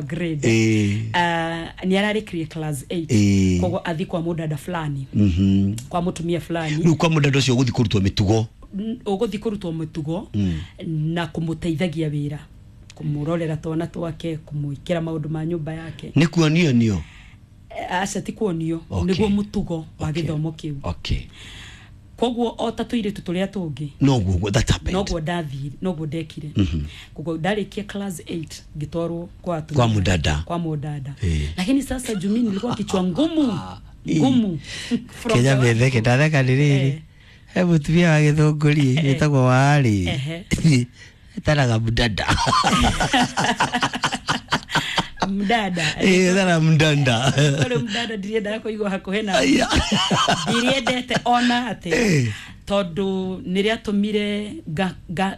Grade nĩ ararĩkirie class 8. Koguo athi kwa mũdada fulani, kwa mũtumia fulani. Rĩu kwa mũdada ũcio ũgũthiĩ kũrutwo mĩtugo. Ũgũthiĩ kũrutwo mĩtugo na kũmũteithagia wĩra, kũmũrorera twana twake, kũmwĩkĩra maũndũ ma nyũmba yake. Nĩ kuonio nio? Aca, ti kuonio. Nĩguo mũtugo wa gĩthomo kĩu. Koguo o ta tũirĩtu tũrĩa tũngĩ, noguo that happened. Noguo ndathire, noguo ndekire. Koguo ndarĩkia class 8 ngĩtwarwo kwa atumia. Kwa mũdada. Kwa mũdada. Lakini sasa jumi nilikuwa kichwa ngumu ngumu from Kenya the word metheke go. ndatheka nĩ rĩrĩ, he mũtumia wa gĩthũngũri wĩtagwo warĩ etaraga mdada. Mdada. Etaraga mdanda. Ũrĩ mdada ndiriendaga kũigua hakuhĩ na Aya. ndiriendete ona atĩ tondũ nĩ rĩatũmire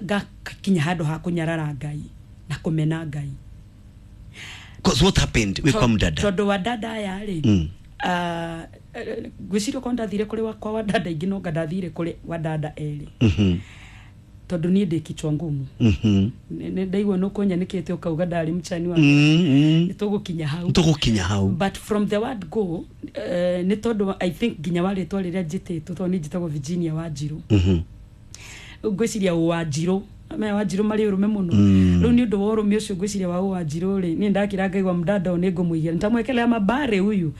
ngakinya handũ ha kũnyarara Ngai na kũmena Ngai. 'Cause what happened wĩ kwa mdada? Tondũ wa dada aya rĩ, ngwĩciria okorwo ndathire kũrĩ kwa wadada ingĩ, no nga ndathire kũrĩ wadada erĩ, tondũ niĩ ndĩ kichwa ngumu. Nĩ ndaigua nĩ ũkũnyanĩkĩte ũkauga ndarĩ mchani wa nĩ tũgũkinya hau. Tũgũkinya hau. But from the word go, nĩ tondũ I think nginya wa rĩtwa rĩrĩa njĩtĩtwo, tondũ niĩ njĩtagwo Virginia Wanjirũ, ngwĩciria Wanjirũ maya Wanjirũ marĩ ũrũme mũno. Rĩu nĩ ũndũ wa ũrũme ũcio ngwĩciria wa Wanjirũ rĩ, niĩ ndakira ngaigua mdada ũyũ nĩ ngũmũigĩra, nitamwekelea mabare huyu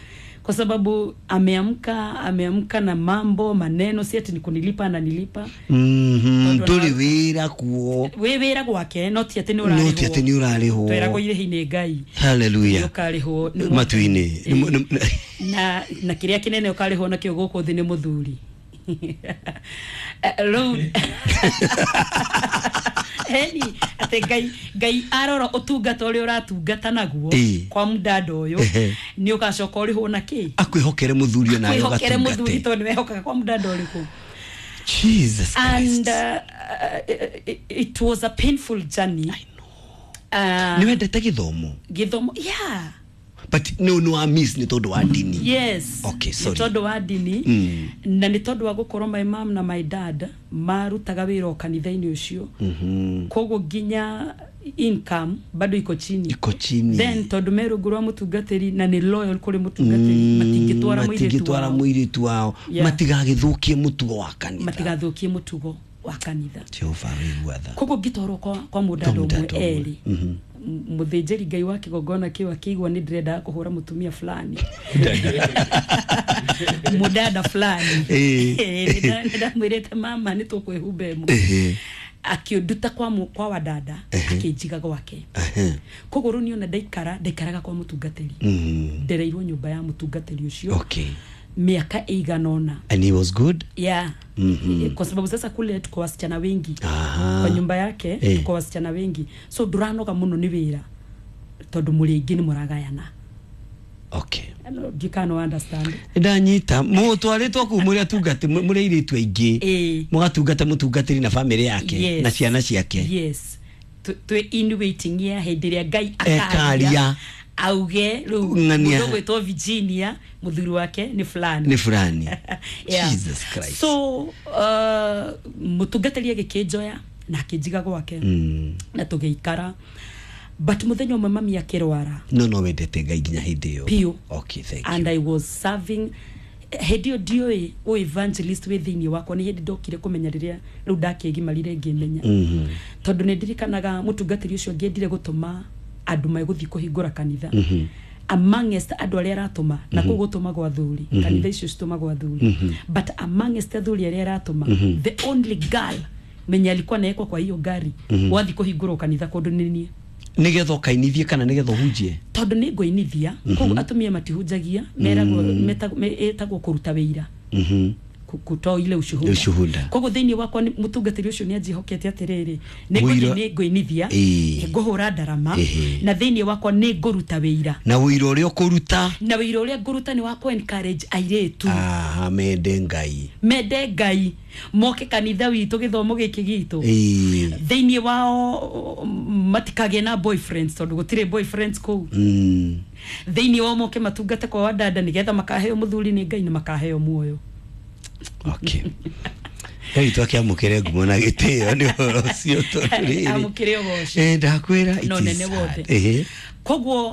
kwa sababu ameamka, ameamka na mambo maneno, si ati ni kunilipa ananilipa. Tondũ Ndũrĩ wĩra kuo. Wĩ wĩra gwake, no ti atĩ nĩ No ti atĩ nĩ ũrarĩhwo. Tweragwo irĩhi nĩ Ngai. Haleluya. Ũkarĩhwo nĩ matu-inĩ. Na kĩrĩa kĩnene ũkarĩhwo nakĩo gũkũ thĩ nĩ mũthuri. Rĩu eni atĩ Ngai arora ũtungata ũrĩa ũratungata naguo kwa mdada ũyũ, nĩ ũgacoka ũrĩhwo na kĩ? Akwĩhokere mũthuri onawe. Kwĩhokere mũthuri. Ũgatungate. Tondũ nĩwehokaga kwa mdada ũrĩkũ. Jesus And Christ. It was a painful journey. Nĩ wendete gĩthomo? Gĩthomo, yeah. But nĩ wa miss nĩ tondũ wa ndini? Yes. Okay, sorry. Nĩ tondũ wa ndini na nĩ tondũ wa gũkorwo my mom na my dad marutaga wĩra o kanitha-inĩ ũcio. Koguo nginya income bado iko chini. Iko chini. Then tondũ me rungu rwa mũtungatĩri na nĩ loyal kũrĩ mũtungatĩri, matingĩtwara mũirĩtu matingĩtwara wao. mũirĩtu wao. Matigagĩthũkie mũtugo wa kanitha. Matigathũkie mũtugo wa kanitha. Jehova wĩigua tha. Koguo ngĩtwarwo kwa mũdada Kwa ũmwe mũdada ũmwe. erĩ. Mũthĩnjĩri Ngai wa kĩgongona kĩu akĩigua nĩ ndĩrendaga kũhũra mũtumia fulani, mũdada fulani. Nĩ ndamwĩrĩte mama nĩ tũkwĩhumba ĩmwe. Akĩnduta kwa wadada, akĩnjiga gwake. Koguo rĩu niĩ ona ndaikara ndaikaraga kwa mũtungatĩri. Ndereirwo nyũmba ya mũtungatĩri ũcio mĩaka ĩigana ũna. And he was good? Yeah. Kwa sababu sasa kule tuko wasichana wengi. Kwa nyumba yake tuko wasichana wengi, so nduranoga muno nĩ wĩra tondũ mũrĩ aingĩ nĩ mũragayana. You can understand. Ndanyita mũtwarĩtwo kũu mũrĩ atungati, mũrĩ airĩtu aingĩ, mũgatungata mũtungatĩri na bamĩrĩ yake na ciana ciake. Yes, twĩ in waiting ya hĩndĩ ĩrĩa Ngai Ekaria. akaria auge rĩu Ng'ania. mũndũ ũgwĩtwo Virginia mũthuri wake nĩ fulani. Nĩ fulani. Yeah. Jesus Christ. So mũtungatĩri agĩkĩnjoya na akĩnjiga gwake na tũgĩikara, but mũthenya ũmwe mami akĩrwara. No wendete Ngai nginya hĩndĩ ĩyo? Piũ. Okay, thank And you. I was serving. Hĩndĩ ĩyo ndiũĩ ũ evangelist wĩ thĩinĩ wakwa. Nĩ hĩndĩ ndokire kũmenya rĩrĩa rĩu ndakĩgimarire ngĩmenya, tondũ nĩ ndirikanaga mũtungatĩri ũcio angĩendire gũtũma andũ megũthiĩ kũhingũra kanitha. Amongst andũ arĩa aratũma na kũu gũtũmagwo athuri, kanitha icio citũmagwo athuri, but amongst athuri arĩa aratũma, the only girl mwenye alikuwa naekwa kwa hiyo gari wathi kũhingũrwo kanitha kũndũ nĩ niĩ. Nĩgetha ũkainithie kana nĩgetha ũhunjie? Tondũ nĩ ngũinithia koguo atumia matihunjagia, meragwo ĩtagwo kũruta wĩira, kutoa ile ushuhuda. Ushuhuda. Koguo thĩinĩ wakwa mũtungatĩri ũcio nĩ anjĩhokete atĩrĩrĩ, nĩ Mũira- ngũthiĩ, nĩ ngũinithia, ngũhũra ndarama, na thĩinĩ wakwa nĩ ngũruta wĩira. Na ũira ũrĩa ũkũruta? Na wĩira ũrĩa ngũruta nĩ wa kũ encourage airĩtu Aha, mende Ngai. Mende Ngai, moke kanitha witũ, gĩthomo gĩkĩ gitũ. Thĩinĩ wao matikagĩe na boyfriends tondũ gũtirĩ boyfriends kũu. Thĩinĩ wao moke matungate kwa wadada nĩgetha makaheo mũthuri nĩ Ngai na makaheo muoyo. Okay, Ngai twakĩamũkĩre ngumo na gĩtĩo nĩ ũhoro ũcio tondũ rĩrĩ Amũkĩre ũgoci. Ndakwĩra it No is nene wothe. sad. Koguo.